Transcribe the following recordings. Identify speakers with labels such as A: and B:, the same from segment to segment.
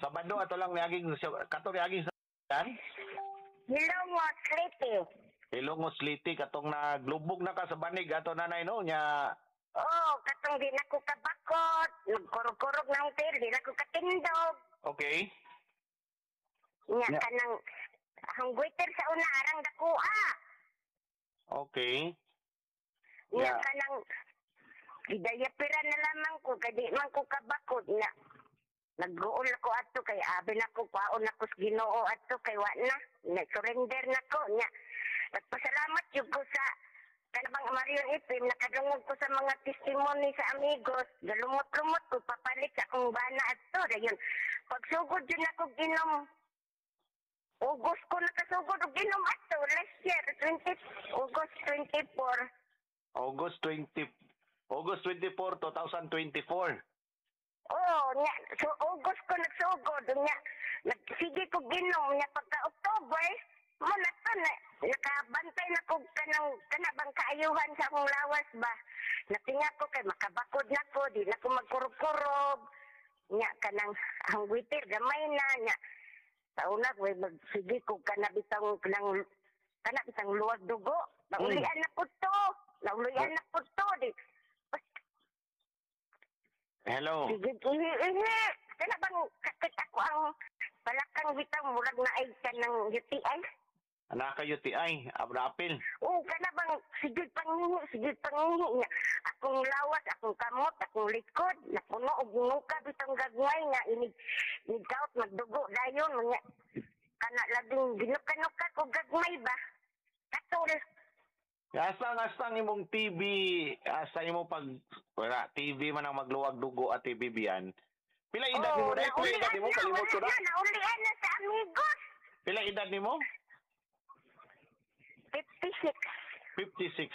A: Sabado ato lang niaging kato niaging sa yan.
B: Hilongos, Leyte.
A: Hilongos, Leyte, katong naglubog na ka sa banig ato, nanay, no, nya.
B: Oh, katong di na ko kabakot, nagkurog-kurog na ang tiil, di na ko katindog. Nya kanang hangguiter sa una arang dakua. Nya kanang gidayapira na lamang ko kay di man ko kabakot nya. Nagguol ako ato kay abi na ko, kwaon ako sa Ginoo ato kay wa na, nag-surrender na ko nya. Nagpasalamat jud ko sa kanabang Marion Ipim, nakadungog ko sa mga testimony sa amigos, galumot-lumot ko papalit sa akong bana ato. Dayon pagsugod jud nako ginom, August ko nakasugod og ginom ato last year, 20 August 24.
A: August 20, August 24, 2024.
B: Oo, nya, so August ko nagsugod, nya, nagsige ko ginom, nya pagka October, mo na to, na, nakabantay na ko kanang, kanabang kaayuhan sa akong lawas ba. Natinga ko kay makabakod na ko, di na ko magkurog-kurog, nya kanang ang witir, gamay na, nya. Sa una, way magsige ko kanabitang, kanang, kanabitang luwag dugo, naulian na po to, naulian na po to, di,
A: Hello.
B: Sige, ihi, ihi. Kana bang kakit ako ang palakang bitaw murag na ay ka ng UTI?
A: Anak ka UTI, abrapil.
B: Oo, kana bang sige pangihi, sige pangihi niya. Akong lawas, akong kamot, akong likod, napuno og nuka bitong gagmay nga inig inig magdugo dayon nga kana labing ginuka-nuka ko gagmay ba. Katol.
A: Asa nga asa ang imong TV, asa imo pag wala TV man ang magluwag dugo at TV biyan. Pila edad nimo dai? Pila edad nimo? Kalimot ko na.
B: Naulian na sa amigos.
A: Pila edad nimo?
B: 56.
A: 56.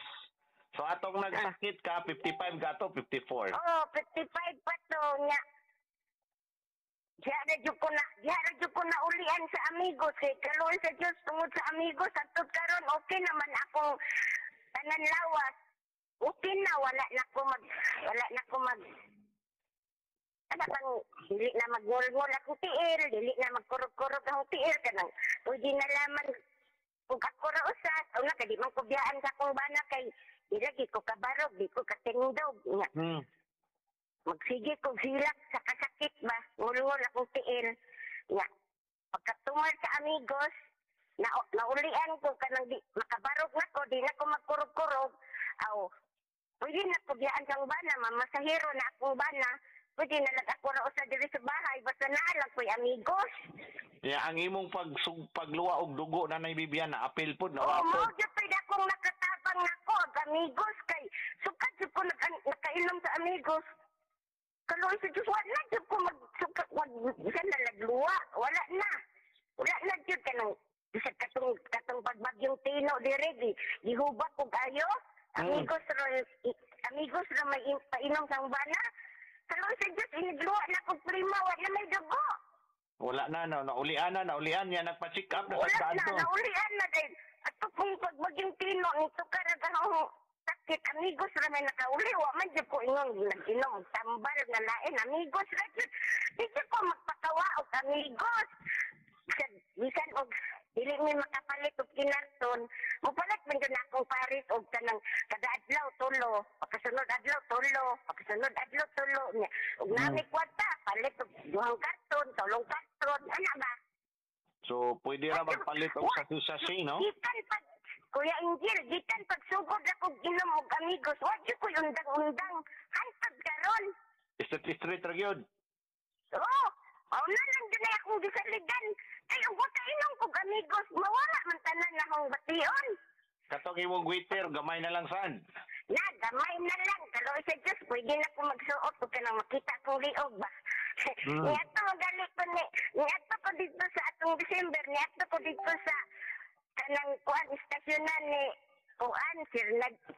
A: So atong nagsakit ka 55 ka to 54.
B: Oh, 55 pa to nya. Diya na jud ko na, diya na jud ko na ulian sa amigos kay kaluoy sa Dios tungod sa amigos hangtod karon okay naman akong tanan lawas. Okay na, wala na ko mag ano bang dili na magngol-ngol akong tiil, dili na magkurog-kurog akong tiil kanang pwede na laman kung ako ra usa, una kay di man ko biyaan sa akong bana kay di lagi ko kabarog, di ko katindog nya. Magsige kog silak sa kasakit ba, ngulngol akong tiil. Nya, pagkatumal sa amigos, na, naulian ko kanang di, makabarog na ko, di na ko magkurog-kurog. Aw, pwede na ko biyaan sang bana, mamasahero na akong bana. Pwede na lang ako ra usa diri sa bahay, basta naa lang ko'y amigos.
A: Ya, ang imong pagluwa og dugo na Bibian na apil pod na
B: Oo,
A: wapod.
B: mao gyud pwede akong nakatabang nako og amigos kay sukad jud ko nakainom sa amigos. Kaluoy sa Diyos, wala jud ko magsuka, wag bisan na lagluwa, wala na. Wala na jud kanang bisan katong pagbagyong tino dire di gihubak og ayo. Amigos ra amigos ra may painom sang bana. Kaluoy sa Diyos, inigluwa na kog prima, wala may dugo.
A: Wala na, no, naulian na, naulian niya, nagpa-check up na
B: Wala
A: sa
B: na,
A: to.
B: naulian na dahil. Ato kung pagbagyong tino, nito karag ang sakit, amigos ra may nakauli, wa man jud ko ingon, nag-inom, tambal nga lain, amigos ra jud. Di jud ko magpakawa og amigos. Bisan og dili mi makapalit og kinarton, mopalit man jud na akong paris og kanang kada adlaw tulo, pagkasunod adlaw tulo, pagkasunod adlaw tulo nya. Og nami kwarta, palit og duhang karton, tulong karton, ana ba?
A: So pwede ra magpalit og sasi-sasi, no?
B: Gikan pag Kuya Angel, gikan pagsugod ako ginom og amigos, wa jud ko'y undang-undang hantod karon.
A: Street street ra gyud.
B: Oo, mao na lang jud ay akong gisaligan. Kay ug wa kainom kog amigos, mawala man tanan na akong bation.
A: Katong imong waiter, gamay na lang san.
B: Na, gamay na lang. Kaluoy sa Diyos, pwede na ko magsuot ug kanang makita kong liog ba. Niadto magali ko ni, niadto ko dito sa atong December, niadto ko dito sa kanang kuan istasyonan ni kuan Sir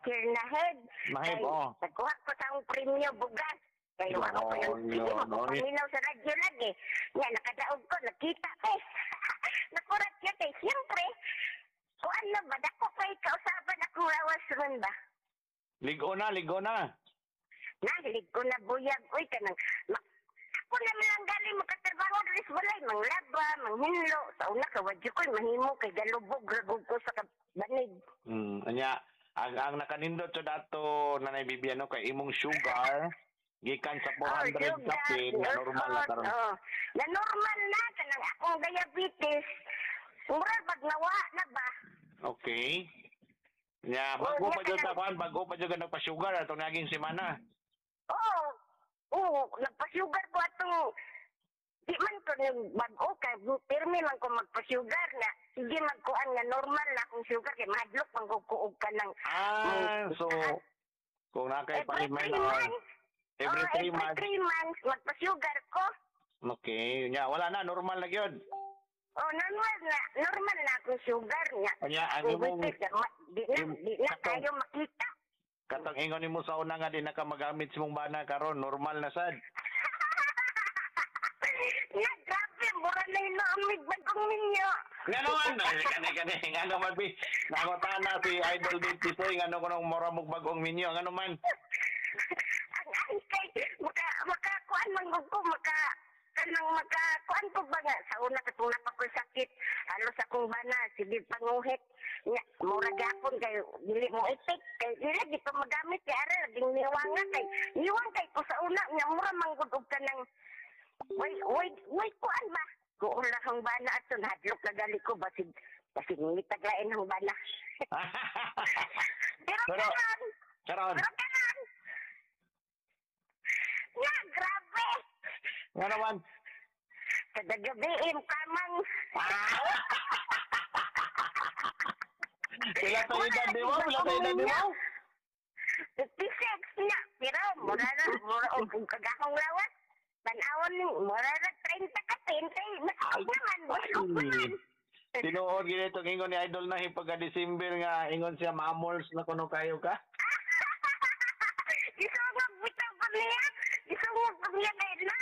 B: Sir Nahed.
A: Naheb,
B: Kay
A: oo.
B: nagkuha ko sa akong premyo bugas. Kay wa ko pa yung
A: No,
B: sige
A: no, no.
B: paminaw sa radyo lagi. Nya nakadaog ko, nakita ko. Nakurat siya kay siyempre. Kuan na ba dako kay kausaban akong lawas ron ba?
A: Ligo na, ligo na.
B: Nahilig ko na buyag. Uy, kanang, ako na lang galing makatrabaho diri sa manghinlo. Sa una ka wa jud ko'y mahimo kay galubog ra gud ko sa banig.
A: Anya ang nakanindot sa dato, Nanay Bibian, no, kay imong sugar gikan sa 400
B: Oh, sugar,
A: kapin na normal na karon.
B: Oh, na normal na kanang akong diabetes. Mura pag nawa na ba?
A: Okay. Nya
B: Oh,
A: bago
B: nya
A: pa jud
B: kanang
A: sa kuan, bago pa jud ka nagpa-sugar atong naging semana.
B: Oo. Oo, nagpa-sugar ko atong di man ko nang bag-o kay pirmi man ko magpa-sugar na sige magkuan nga normal na akong sugar kay mahadlok man ko og kanang
A: Ah, so kung na kay
B: every 3
A: pa-minor
B: months.
A: every
B: Oh,
A: 3
B: every
A: months.
B: 3 months magpa-sugar ko.
A: Okay, nya wala na, normal na gyud.
B: Oh, normal na, normal na akong sugar niya.
A: Nya ang
B: Kung
A: imong
B: di na, di na kayo makita.
A: Katong ingon nimo sa una nga di na ka magamit sa imong bana karon, normal na sad.
B: Na, grabe, mura na inaamig bagong ninyo.
A: Ngano man, ay, kani kani ngano man bi. Nangutana si Idol Dave Tisoy ngano kunong mura mog bagong minyo, ngano man?
B: Ang kay maka kuan man gud ko, maka kanang maka kuan ko ba nga sa una katong napa ko'y sakit, halos akong bana sige panguhit nya mura gyapon kay dili mo epek kay dili gid ko magamit kay ara laging niwanga kay niwang kay ko sa una nya mura man gud og kanang way way way kuan ba kuon lang ang bana ato, hadlok na gali ko basig basig mitaglain ang bana, pero karon
A: Karon
B: pero karon nga, grabe.
A: Ngano man?
B: Kada gabi kamang.
A: Pila ta edad nimo? Pila ta edad nimo?
B: 56 na. Pero mura na, mura og kagakong lawas. Tan-awon ni mura na 30 ka 20. Baskog naman, baskog naman.
A: Tinuod gid itong ingon ni Idol na pagka December nga ingon siya mamols na kuno kayo ka.
B: Isungog bitaw ko niya. Isungog ko niya kay na.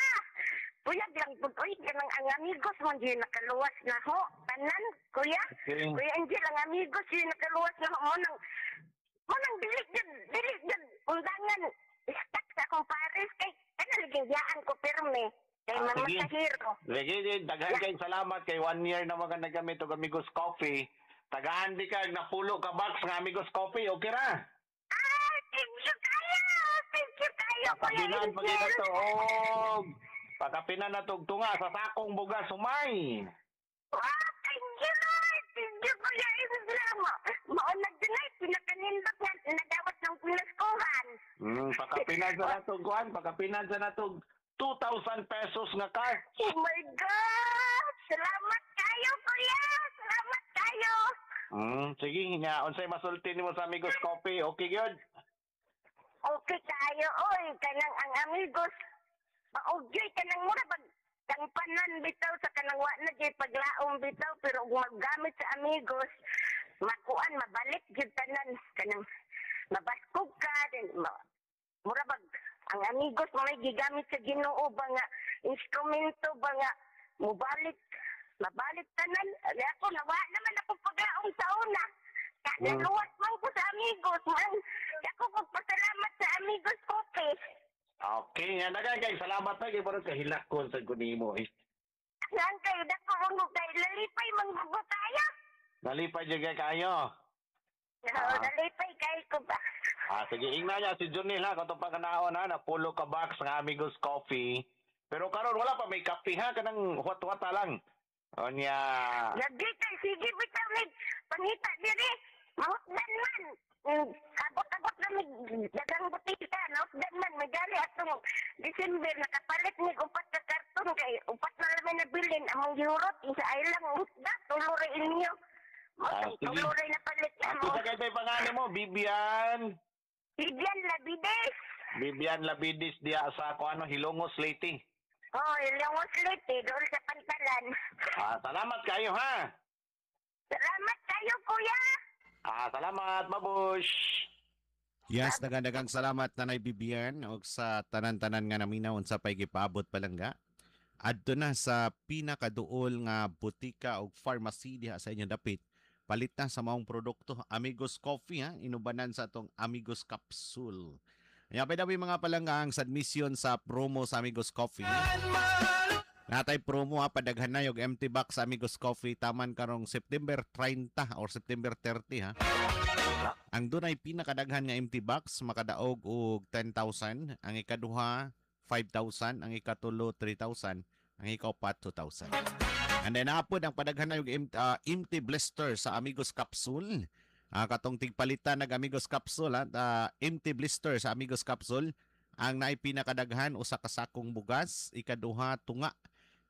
B: Puyag lang pud oy kanang ang amigos mo di nakaluwas na ho. Tanan, kuya.
A: Okay.
B: Kuya Angel, ang amigos yun nakaluwas na ho. Mo nang dili jud undangan stuck sa akong pares kay kana ligayaan ko pirmi. Kay
A: Ah,
B: mama
A: sige.
B: sa hero.
A: Lagi daghan kay salamat kay one year na mga nagamit og Amigos Coffee. Tagaan di ka napulo ka box nga Amigos Coffee, okay ra?
B: Ah, thank you kayo. Thank you kayo, Kuya
A: Pakapinan pa
B: Angel.
A: na to og pakapinan na tog tunga sa sakong bugas humay.
B: Wow, thank you, Lord. Thank you, Kuya Angel. Mao na dunay pinakanindot nga nadawat ng pinaskuhan.
A: Pakapinan sa natog kuan, pakapinan sa natog 2,000 pesos nga card.
B: Oh my God! Salamat kayo, Kuya! Salamat kayo!
A: Sige nga, unsay masulti nimo sa Amigos Coffee? Okay gyud.
B: Okay kayo, oy. Kanang ang amigos, maugyoy kanang mura pag kang panan bitaw sa kanang wa na gyud paglaom bitaw, pero kung maggamit sa amigos makuan mabalik gyud tanan kanang mabaskog ka then mura bag ang amigos mo may gigamit sa Ginoo ba nga instrumento ba nga mubalik mabalik tanan. Ay, ako nawa naman ako paglaom sa una. Naluwas man ko sa amigos man ako pagpasalamat sa Amigos Coffee.
A: Okay, nga daghan kay salamat na kay parang kahilakon sa kunimo eh.
B: Saan kayo dako mo kay lalipay manggugo tayo.
A: Nalipay jud kay kayo.
B: Ah. Nalipay kay ko ba.
A: Ah, sige, ingna niya si Junil ha, katong pagkanaon ha, napulo ka box nga Amigos Coffee. Pero karon wala pa may kape ha, kanang huwat-huwata lang. O niya,
B: Lagi kay sige bitaw mig pangita diri. Mahutdan man. Abot-abot na mig dagang butika, nahutdan man may gali atong December nakapalit mig upat ka karton kay upat na lang may nabilin among gihurot isa ay lang hutda tulo ra inyo. Mo
A: Ah, sige.
B: tulo ra napalit na mo.
A: Ako sa kay pangalan mo, Bibian.
B: Bibian Labides.
A: Bibian Labidis diya sa kuano Hilongos, Leyte.
B: Oh, Ilongos Leyte, doon sa Pantalan.
A: Ah, salamat kayo ha.
B: Salamat kayo, kuya.
A: Ah, salamat, babush.
C: Yes, daghang salamat, Nanay Bibian, og sa tanan-tanan nga naminaw unsa pay gipaabot palangga. Adto na sa pinakaduol nga butika og pharmacy diha sa inyong dapit. Palit na sa maong produkto Amigos Coffee ha, inubanan sa atong Amigos Capsule. Nya by the way, mga palangga, ang submission sa promo sa Amigos Coffee. Natay promo ha, padaghan na yung empty box sa Amigos Coffee taman karong September 30 or September 30 ha. Ang dunay pinakadaghan nga empty box makadaog og 10,000, ang ikaduha 5,000, ang ikatulo 3,000, ang ikaupat 2,000. And then apod ang padaghan na yung empty blister sa Amigos Capsule. Katong tigpalitan nag Amigos Capsule ha, empty blister sa Amigos Capsule. Ang naay pinakadaghan usa ka sakong bugas, ikaduha tunga,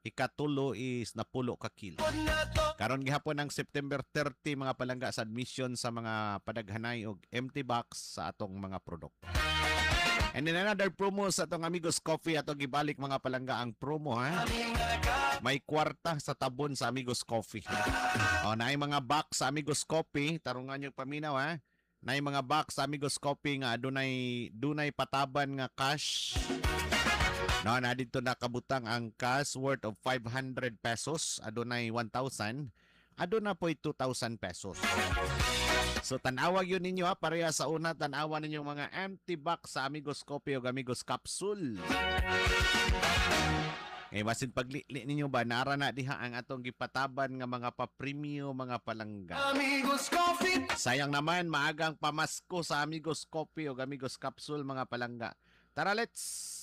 C: ikatulo is napulo ka kilo. Karon gihapon ang September 30 mga palangga sa admission sa mga padaghanay og empty box sa atong mga produkto. And then another promo sa atong Amigos Coffee, atong gibalik mga palangga ang promo ha. May kwarta sa tabon sa Amigos Coffee. O, naay mga box sa Amigos Coffee, tarungan yung paminaw ha. Naay mga box sa Amigos Coffee nga dunay pataban nga cash. No, na dito nakabutang ang cash worth of 500 pesos, adunay 1,000, aduna po'y 2,000 pesos. So tan-awag yun ninyo ha, pareha sa una, tan-awa ninyo mga empty box sa Amigos Coffee o Amigos Capsule. Eh, basin paglili ninyo ba, nara na diha ang atong gipataban nga mga papremyo, mga palangga.
D: Amigos Coffee.
C: Sayang naman, maagang pamasko sa Amigos Coffee o Amigos Capsule, mga palangga. Tara, let's!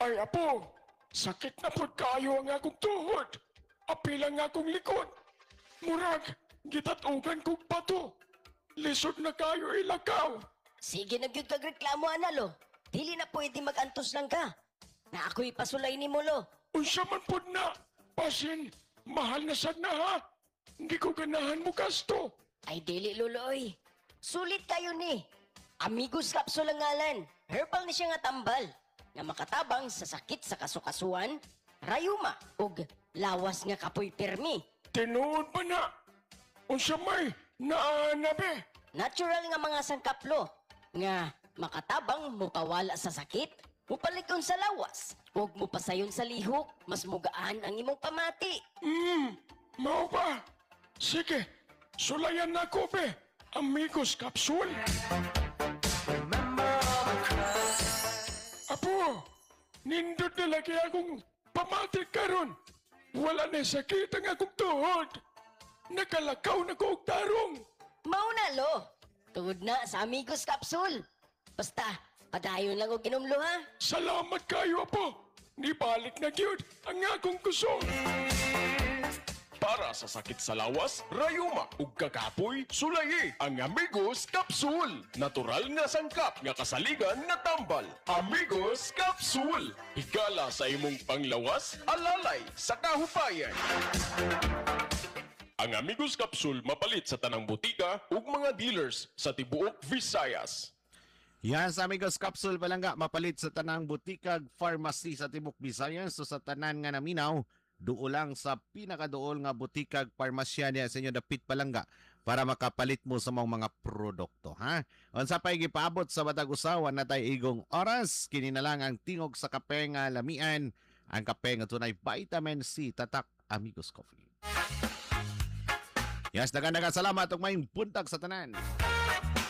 E: Ay, apo, sakit na pod kayo ang akong tuhod. Apil ang akong likod. Murag, gitatugan kong bato. Lisod na kayo ilakaw.
F: Sige na gyud kag reklamo ana lo. Dili na pwede magantos lang ka. Na ako'y pasulay nimo lo.
E: Unsa man pod na. Pasin, mahal na sad na ha. Hindi ko ganahan mo gasto.
F: Ay dili lolo oy. Sulit kayo ni. Amigos Capsule ang ngalan. Herbal ni siya nga tambal na makatabang sa sakit sa kasukasuan, rayuma ug lawas nga kapoy pirmi.
E: Tinuod ba na? Unsa may naana be?
F: Natural nga mga sangkaplo nga makatabang mupawala sa sakit, mupalig-on sa lawas, ug mupasayon sa lihok, mas mugaan ang imong pamati.
E: Mao ba? Sige, sulayan na ko be. Amigos Capsule. Apo, nindot na lagi akong pamati karon. Wala na sakit ang akong tuhod. Nakalakaw na ko og tarong.
F: Mao na lo. Tungod na sa Amigos Capsule. Basta, padayon lang og inom lo ha.
E: Salamat kayo, apo. Nibalik na gyud ang akong kusog.
G: Para sa sakit sa lawas, rayuma ug kakapoy, sulayi ang Amigos Capsule. Natural nga sangkap nga kasaligan nga tambal. Amigos Capsule. Higala sa imong panglawas, alalay sa kahupayan. Ang Amigos Capsule mapalit sa tanang butika ug mga dealers sa tibuok Visayas.
C: Yan sa Amigos Capsule palangga, mapalit sa tanang butikag pharmacy sa Tibok Visayas. So sa tanan nga naminaw, duo lang sa pinakaduol nga butikag parmasya niya sa inyo dapit palangga para makapalit mo sa mga produkto ha. Unsa pay gipaabot sa matag usawa na tay igong oras, kini na lang ang tingog sa kape nga lamian, ang kape nga tunay vitamin C, tatak Amigos Coffee. Yes, daghang salamat ug maayong buntag sa tanan.